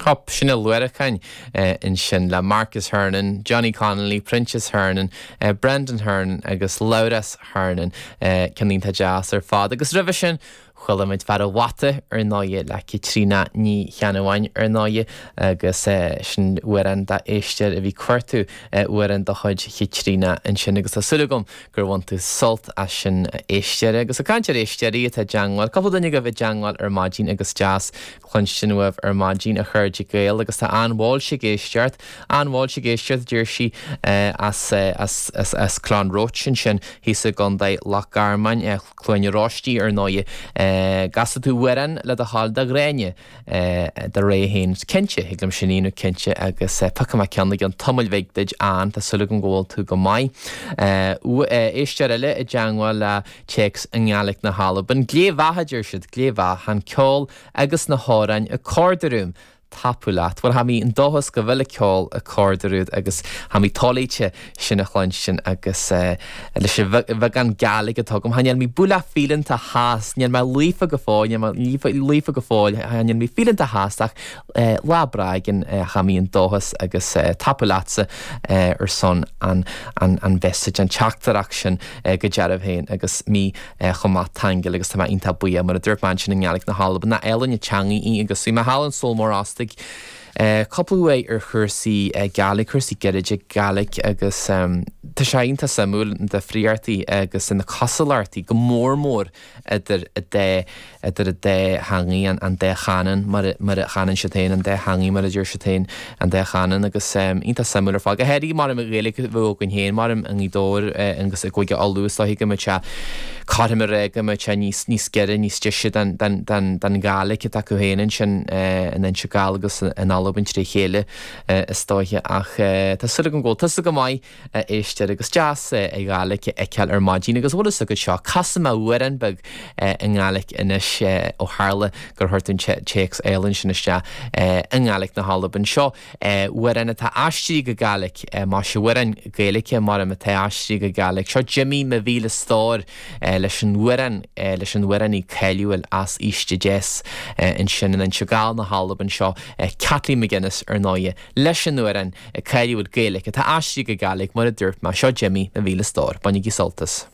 Hup, sin na Luaracáin ansin le Marcus Hernon, Johnny Connolly, Proinsias Hernon, Brendan Hernon agus Labhrás Hernon. Ceann iontach deas ar fad. Agus roimhe sin, chuala muid Fear an Bhata ar ndóighe le Caitríona Ní Cheannabháin ar ndóighe agus sin amhrán d'éisteoir a bhí ag cuartú amhrán de chuid Chaitríona ansin agus tá súil agam gur bhain tú sult as sin a éisteoir. Agus ag caint ar éisteoirí atá i dteangmháil, cúpla duine agaibh i dteangmháil ar maidin agus deas cluinstin uaibh ar maidin a chairde Gael agus tá Ann Walsh ag éisteacht, Ann Walsh ag éisteacht a deir sí as as as as Clann Roach ansin thíos i gContae Loch Garman, Cluain Oráistí ar ndóighe. An gcasfaidh tú amhrán le do thoil do Ghráinne do rogha féin. Cinnte, thig liom sin a dhéanamh cinnte agus piocfaidh mé ceann i gceann tamaill bhig duit Ann, tá súil agam go bhfuil tú go maith. Éisteoir eile i dteangmháil le téacs i nGàidhlig na hAlban. Glè mhath, a deir siad, glè mhath. Tha an ceol agus na h-òrain ag còrdair uaim. Tapadh leat. Bhuel, tha mi an dòchas go bhfuil an ceol ag còrdair uait agus tha mi toilithe sin a chluinstin agus leis an bheagán Gàidhlig atá agam, chan eil mi bualadh fíleanta thas, níl mé líofa go fóill, níl mé líofa go fóill, chan eil mi fíleanta thas ach lá breá éigin tha mi an dòchas agus tapadh leatsa ar son an an message, an teachtaireacht sin. go dearbh féin agus mé chomh maith taingeal agus tá mé iontach buíoch mar a dúirt mé ansin i nGàidhlig na hAlban nach álainn an teangaidh í agus bhí mé thall in Sabhal Mòr Ostaig cúpla uair ar chúrsaí Gàidhlig, cúrsaí gairide Gàidhlig agus tá sé iontach suimiúil na difríochtaí agus na cosúlachtaí go mór mór idir an dá idir an dá theangaidh, an dá chanann, mar a mar a chanann siad féin, an dá theangaidh mar a deir siad féin, an dá chanann agus iontach suimiúil ar fad. Go háirithe mar an Ghaeilge a bheadh againn féin, mar i nGaoth Dobhair agus i gCúige Uladh is dóiche go mbeadh sé cothrom a rá go mbeadh sé níos níos giorra, níos deise don don don don Ghàidhlig atá acu féin ansin in Inse Gall agus in Albain tré chéile is dóiche ach tá súil agam go bhfuil tusa go maith. a éisteoir agus deas an Ghàidhlig a fheiceáil ar maidin agus bhfuil fhios agat seo, casfaidh mé amhrán beag i nGàidhlig anois ó tharla gur chuir tú an téacs álainn sin isteach i nGàidhlig na hAlban. Seo amhrán atá aistrithe go Gàidhlig, más ea amhrán Gaeilge mar atá aistrithe go Gàidhlig. Seo Jimí mo mhíle stór leis an amhrán, leis an amhránaí cáiliúil as Uibhist Deas ansin in Inse Gall na hAlban seo, Kathleen McGuinness ar ndóighe, leis an amhrán cáiliúil Gaeilge atá aistrithe go Gàidhlig mar a dúirt mé, seo Jimí mo mhíle stór. Bainigí sult as.